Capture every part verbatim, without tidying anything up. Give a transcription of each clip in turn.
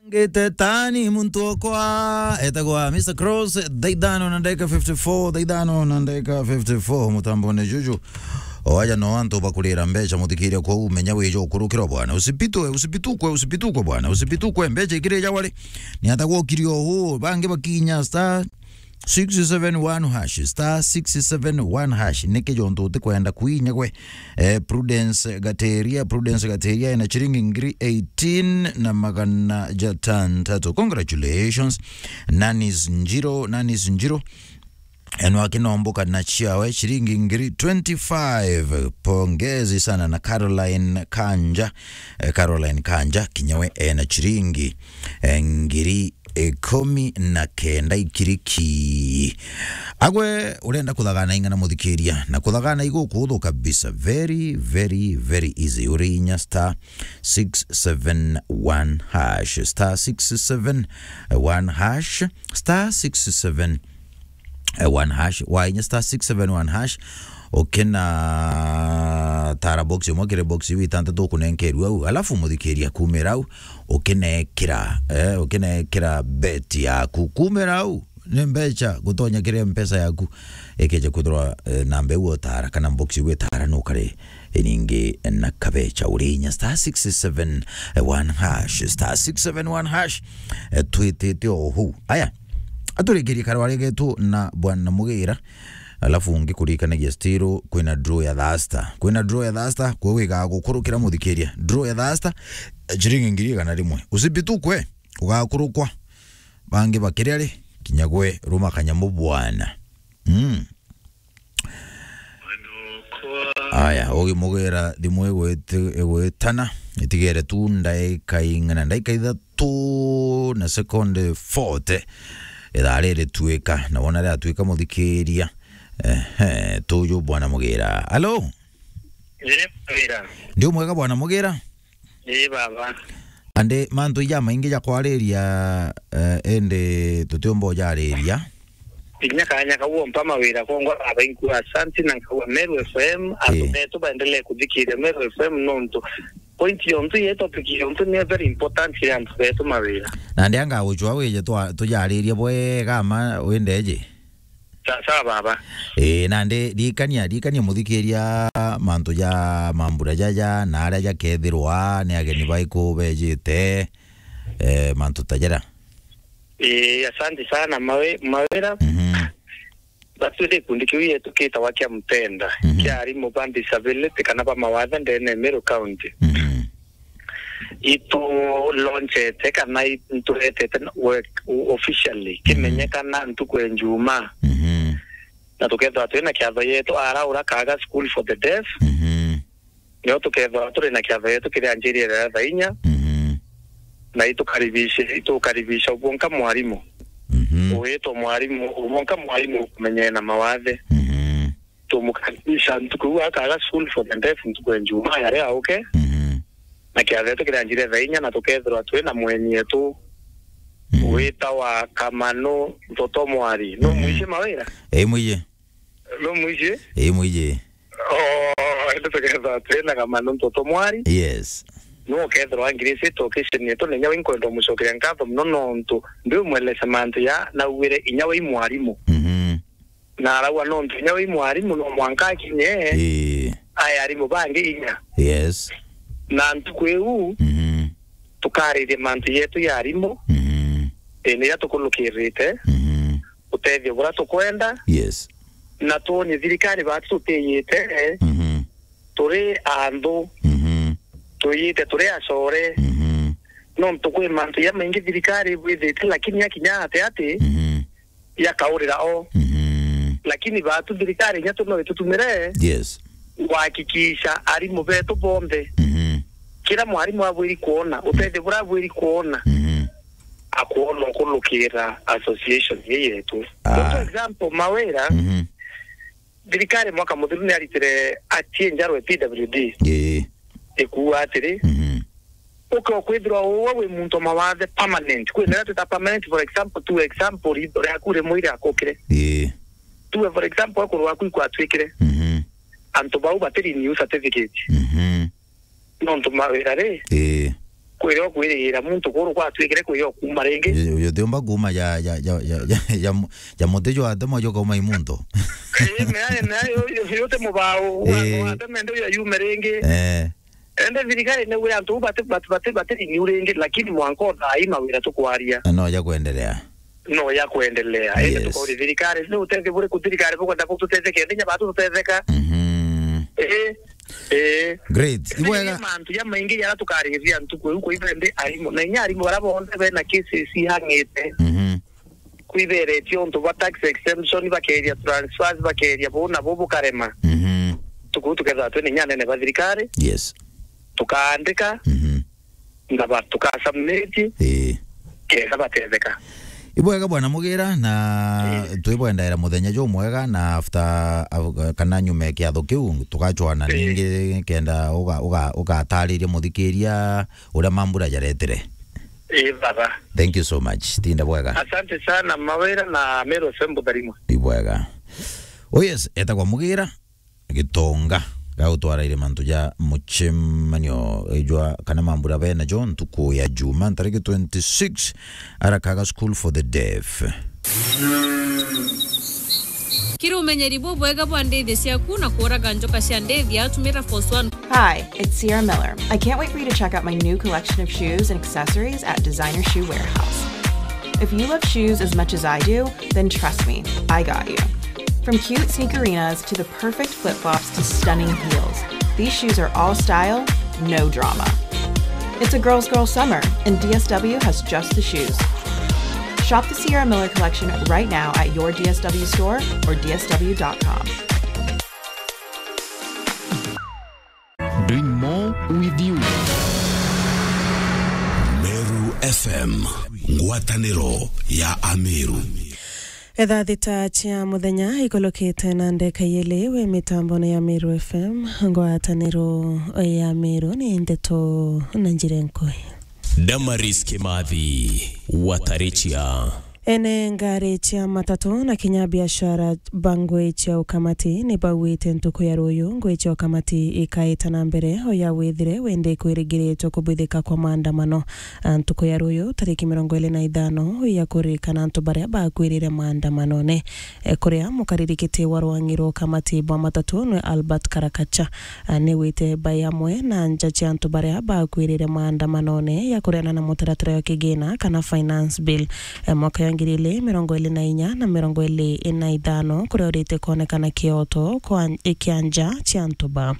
Ngite tani muntu okwa, etagwa Mister Cross, thaa ithano na ndagika fifty-four, thaa ithano na ndagika fifty-four, mutambone juju. Oaja no antu bakurira mbeca, muthikiria, kwou menya wija ukurukirwa bwana. Usipitwe, usipitukwe, usipitukwe bwana, usipitukwe, mbeca ikirija wari. Ni atagwa ukirio huu, bangi bakinya star six seven one hash, star six seven one hash. Niki jontu utikwenda kwinya gwe? Eh, Prudence Gateria, Prudence Gateria ena chiringi ngiri eighteen na magana jatantatu. Congratulations. Nanis Njiro, Nanis Njiro. Enwa kinomboka na chiawe chiringi ngiri twenty-five. Pongezi sana na Caroline Kanja. Eh, Caroline Kanja, kinyawe ena chiringi, eh, ngiri ikumi na kenda ikiriki. Agwe urenda kuthagana ing'ana, muthikiria, na kuthagana igukuhuthu kabisa. Very, very, very easy. Uri inya star six seven one hash, star six seven one hash, star six seven one hash, wa inya star six seven one hash. Ukina tara box imwe kiri box iu itantatu ukunenkerua au, alafu muthikiria kumira au, ukinekira, eh, ukinekira bet yaku. Kumira au, ni mbeca gutonya kiri mpesa yaku. Ikeja kwithirwa, eh, namba iu utara kana box iu itara nukari iningi na kabeca. Uri inya star six seven one hash, star six seven one hash. Eh, twitite o huu. Aya, aturikirie karwari getu na bwana Mugira. Alafu ngikurikanagia still kwina draw ya Thursday. Kwina draw ya Thursday, kwe wiga gukurukira muthikiria. Draw ya Thursday, eh, chiringi ngiri igana rimwe. Usibitukwe, ugakurukwa. Bangi bakiria ri, kinya gwe ruma kanyamu bwana. Mm. Aya, ugimugira thimu igwiti-, igwitana, itigere tu ndaika ing'ana, ndaika ithatu na sekondi forty. Ithaa riri tuika, na wona riatuika muthikiria. Ehe, tuju bwana Mugira. Alo? Ii, Mugira. Ndi umwega bwana Mugira? Ii, baba. Andi mantu ija maingi ja kwariria, eh, indi tutiumba ujariria. Kinya kanya kau umpa mawira kongwa baba, inkua asanti na nkauga Meru F M, antu Ii. betu baendelee kuthikiria Meru F M nontu point yontu ye topic yontu ni very important ya antu betu mawira. Nandi anga gucwa wije twa-, tujaririe bwega ma windeje? Sa-, sawa baba. Ii, nandi ririkania, ririkania muthikiria mantu ja mambura jaja na aria jakethirwa ni ageni baiku bejite, eh, mantu ta jaria. Ii, asanti sana mawe-, mawira. Mhm. Basi gikundi kiu yetu kitagwa kia Mpenda, Mhm. kia arimu ba disability kana ba mawathe ndene ya Meru County. Mhm. Itu launchete kana i-, nturetete na work o-, officially, Mhm. kimenyekana ntuku ya Njumaa. Mhm. Na tukethirwa twina kiatho yetu ara ura kaga school for the deaf. Mhm. Nio tukethirwa turi na kiatho yetu kiria njiri ya thaa inya. Mhm. Na itukaribishe, itukaribisha ubonka mwarimu. Mhm. Uwitwa mwarimu, ubonka mwarimu ukumenyana na mawathe. Mhm. Tumukaribisha ntuku iu akaga school for the deaf ntuku ya Njumaa ya ria uke. Mhm. Na kiatho yetu kiria njiri thaa inya na tukethirwa twi na mweni yetu Mhm. witawa Kamanu Ntoto Mwari. No Mhm. mwici mawira? Ii, mwiye. No mwici? Ii, mwiye. Oh, indi tukethirwa twi na Kamanu Ntoto Mwari. Yes. No ukethirwa ngiricite occasion yetu na inya we nkwenda umucokeria nkatho muno nontu ndi umwelese mantu ya naugwire inya we i mwarimu. Mhm. Na arauga nontu inya we i mwarimu no mwanka akinye Ii. ae arimu bangi inya. Yes. Na ntuku iu Mhm. tukaririe mantu yetu ya arimu Mhm. indi iria tukulukirite Mhm. utethio buria tukwenda Yes. na twonie thirikari batu tutiyite Mhm. turi anthu Mhm. twiyite turi acore Mhm. nontu kwi mantu ya maingi thirikari ibwithite lakini yakinya ati ati Mhm. yakaurira o. Mhm. Lakini batu thirikari inya tu no itutumire Yes. kuhakikisha arimu betu bonthe. Mhm. Kira mwarimu abwiri kuona, utethio buria abwiri kuona, Mhm. akwona ukulukira association ii yetu. Ah. For example, mawira, Mhm. thirikari mwaka muthiru ni aritire atie njarwe P W D. Ii. Ikuuga atiri, Mhm. uke ukwithirwa uwe wi muntu mawathe permanent. Kwina iria twita permanent, for example, tu example, ritho riaku rimwe iria akukire. Ii. Tuwe, for example, ekuru waku ikwatwikire. Mhm. Antu bau batiri new certificate. Mhm. Nontu mawira ri, Ii. Kwira ukwirira muntu kuru kwatwikire kwira ukuuma ringi. Uyu, uyu tiumba kuuma ja, ja, ja, ja, ja, ja mu-, ja muti jwa atemo jukauma i muntu. Ii, mea, mea, yu, yu, yu ti mubao, ii, wa, wa ateme ndio ya yume ringi. Eh. Ende thirikari ni wira antu bati, bati, bati, bati renew ringi, lakini mwanka o thaa ii mawira tukwaria. No ja kwendelea. No ya kwendelea. Indi, yes, tukauri thirikari, ni utethia buriku thirikari bukwenda bututetheke, ndi nyaba tutetheka. Mhm. Ii, ii. Great. Indi ibwega mantu jamaingi jara tukariria ntuku iu, kwithira ndi arimu. Na inya arimu bara bonthe bena cases ihang'ite. Mhm. Kwithiritio untu bwa tax exemption, bakeria transfers, bakeria buu na buu bukarema. Mhm. Ntuku iu tukethirwa twi ni inya anene ba thirikari. Yes. Tukaandika. Mhm. Na ba-, tukasubmit, ii, kenda batetheka. Ibwega bwana Mugira, na, ii, twibwendaira muthenya jumwega, na after, af-, kana nyuma ya kiatho kiu, tugacwana, ii, ningi kenda uga-, uga-, ugatariria muthikiria uria mambura jaretire. Ii, baba. Thank you so much. Tinda bwega. Asante sana, Mawira na Meru F M Butharimwa. Ibwega. Oh yes, etagwa Mugira. Gitonga ga gutwaraire mantu ja mucemanio ejwa kana mambura bena jo ntuku ya Juma, ntariki twenty-six, Arakaga School for the Deaf. Kiri umenyeri bubwega bwa ndithia ciaku na kuraga njoka cia ndithia, tumira Force One. Hi, it's Sierra Miller. I can't wait for you to check out my new collection of shoes and accessories at Designer Shoe Warehouse. If you love shoes as much as I do, then trust me, I got you. From cute sneakerinas to the perfect flip-flops to stunning heels, these shoes are all style, no drama. It's a girl's girl summer, and D S W has just the shoes. Shop the Sierra Miller collection right now at your D S W store or D S W dot com. Doing more with you. Meru F M, ngwataniro ya Ameru. Etha thita cia muthenya ikolokete na ndeka yeli wi mitambone ya Meru F M, ngwataniro ya Meru ni ndeto na njira nkui. Damaris Kimathi, Watarichia. Ene ngari cia matatu na kinya biashara ba ngui cia ukamati ni bauite ntuku ya ruyu ngui cia ukamati ikaita na mbere o ya withire wende kwirigiritwe kubwithika kwa maandamano. A, ntuku ya ruyu tariki mirongo iri na ithano ya kuririkana antu baria bakwirire maandamanone. E, kuria mukaririkiti wa rwangi rwa ukamati bwa matatu nwe Albert Karakacha, a, ni wite bai amwe na nja cia antu baria bakwirire maandamanone ya kuriana na mutaratara wa kigina kana finance bill. E, mwaka ya ngiri ili mirongo ili na inya na mirongo ili na ithano, kuria urite kuonekana kioto kwa, e, kia nja cia antu ba.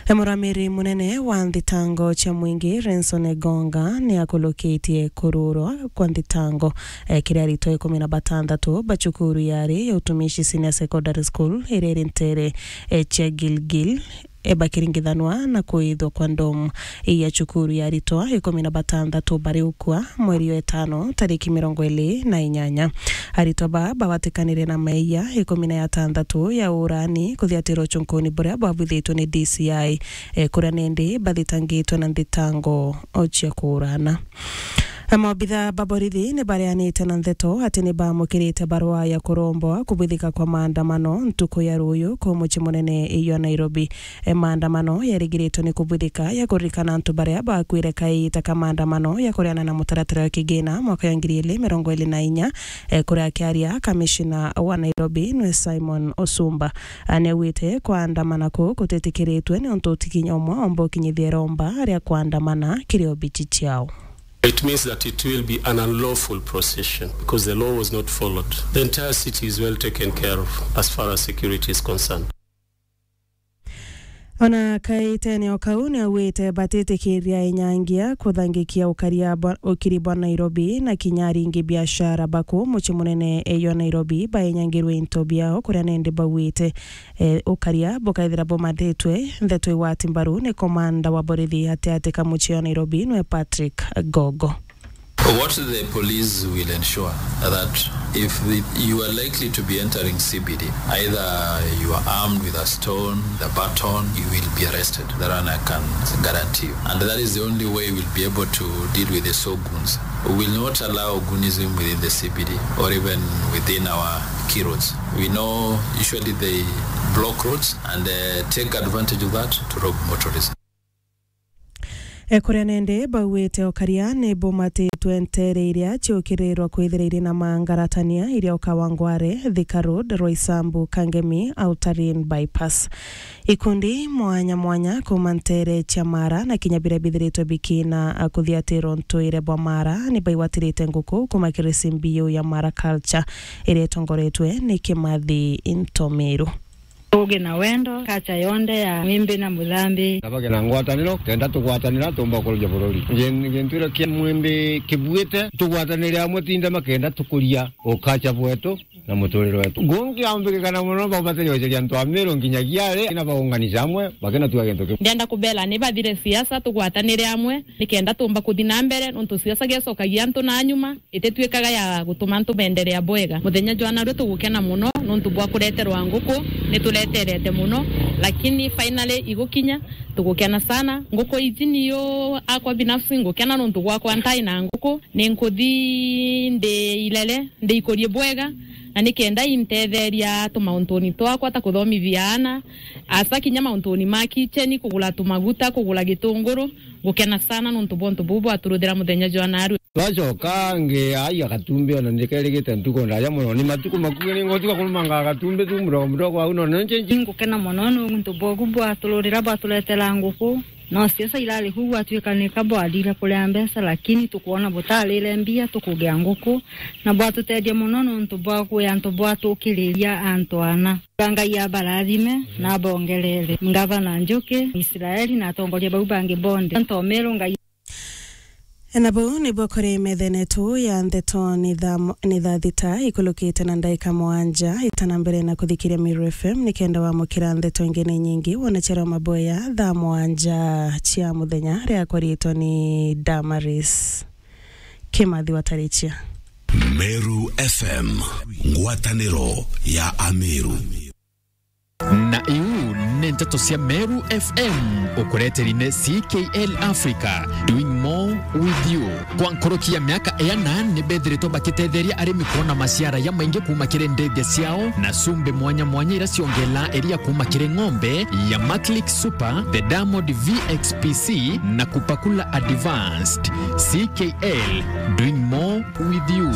E, muramiri munene wa nthitango cia mwingi Renson Egonga ni akulukitie kururwa kwa nthitango, e, kiri aritwa ikumi na batandatu ba cukuru yari ya Utumishi Senior Secondary School iria iri ntere, e, cia Gilgil, e, bakiringithanwa na kuithwa kwa ndomu ya cukuru ya aritwa ikumi na batandatu bari ukua mweri wa itano tariki mirongo ili na inyanya. Aritwa ba babatikanire na meia ikumi na jatandatu ya urani kuthiatirwa ucunkuni buria bwabwithitwe ni D C I, e, kuria nindi bathitangitwe na nthitango o cia kuurana. Maobitha ba borithi ni bareanite na ntheto ati ni baamukirite barua ya kuromboa kubwithika kwa maandamano ntuku ya ruyu ku mucii munene iyo Nairobi. E, maandamano yarigiritwe ni kubwithika ya kuririkana antu baria bakwire kaita ka maandamano ya kuriana na mutaratara wa kigina mwaka ya ngiri ili mirongo ili na inya, e, kuria akiaria kamishina wa Nairobi nwe Simon Osumba, a, niaugite kwandamana kuu gutitikiritwe ni untu ti kinya umwe omba ukinyithia iromba ria kwandamana kiri obici ciao. It means that it will be an unlawful procession because the law was not followed. The entire city is well taken care of as far as security is concerned. Ona kaitene o kau niaugite batitikiria inyangia kuthangikia ukaria bwa, ukiri bwa Nairobi na kinya aringi biashara baku mucii munene iyo Nairobi bainyangirwe into biao kuria nindi bauite, e, ukaria bukaithira bumathitwe ntheto igwati mbaru ni komanda wa borithi atiati ka mucii wa Nairobi nwe Patrick Gogo. What the police will ensure that if the, you are likely to be entering C B D, either you are armed with a stone, the baton, you will be arrested. That one I can guarantee you. And that is the only way we'll be able to deal with the so goons. We will not allow goonism within the C B D or even within our key roads. We know usually they block roads and, uh, take advantage of that to rob motorists. Ekuria nende bauite okaria ni bumatitwe ntere iria ciukirirwa kwithira iri na mangaratania iria ukawangware, Thika Road, Roysambu, Kangemi, Outer Ring Bypass. Ikundi mwanya mwanya kuma ntere cia Mara na kinya biria bithiritwe bikina kuthiatirwa ntuire bwa Mara ni baigwatirite nguku kuma kiri C B U ya Mara Culture iria itongoretwe ni Kimathi Ntomiru. Tuge na wendo, kacha yonde ya Mwimbi na Muthambi. Na bage na ngwataniro, kenda tugwatanira, tumba kuruja bururi. Gin-, gintu iria kia Mwimbi kibuite, tugwatanire amwe tinde makenda tukuria ukacha bwetu na muturire wetu. Gungi ambigikana muno, bau batenyoceria antu a Meru nginyagia ari, na baunganisha amwe, bakena tuga gintu kiu. Ndenda kubela ni bathire siasa, tugwatanire amwe, nikenda tumba kuthi na mbere, nontu siasa gecokagia antu na nyuma. Itituikaga ya gutuma antu beenderea bwega. Muthenya jwa narua tugukena muno nontu bwa kureterwa nguku, ni tuleterete muno, lakini finally igukinya, tugukena sana. Nguku iji niyo akwa binafsi ngukena nontu gwakwa ntai na nguku, ni nkuthi ndi ilele, ndi ikurie bwega, na nikenda intetheria tumauntuuni twakwa ta kuthomithia aana, asa kinya mauntuuni ma kitchen, kugura tumaguta, kugura gitunguru. Ngukena sana nontu bwa untu buu bwaturuthira muthenya jwa narua. Twacoka ngi ai agatumbi, ona ndikerigite ntuku ndaja muno. Ni matuku makuhi ni ngotiga kurumanga agatumbi tu mudogo mudogo au, no nonche nji. Ngukena muno nontu bwogu bwatururira bwaturetera nguku. No siasa irari kuu gwatuika ni ka bwarire kuria mbeca, lakini tukwona butarire mbia tukugia nguku, na bwatutethia muno nontu bwa kwi antu bwatukiriria antu ana. Ngai abarathime na abongerere. Ngavana Njuki, Israeli na atongoria bau bangi bonthe. Ntomeru Ngai. Na buu nibuo kuri methene tu ya ndeto ni thaa mo-, ni thaa thita ikulukite na ndaika mwanja. Itana mbere na kuthikiria Meru F M nikenda wamukira ndeto ingi ni nyingi. Wona Chero Maboya thaa mwanja cia muthenya, riakwa riitwa ni Damaris Kimathi Watarichia. Meru F M, ngwataniro ya Ameru. Na iu ni nteto cia Meru F M, ukureteri ni C K L Africa, doing more with you. Kwa nkoroki ya miaka iana ni bethiritwe bakitetheria arimi kwona maciara ya maingi kuma kiri ndethia ciao na cumbi mwanya mwanya ira ciongela iria kuma kiri ng'ombe ya Maclick Super, the Diamond V X P C na Kupakula Advanced. C K L, doing more with you.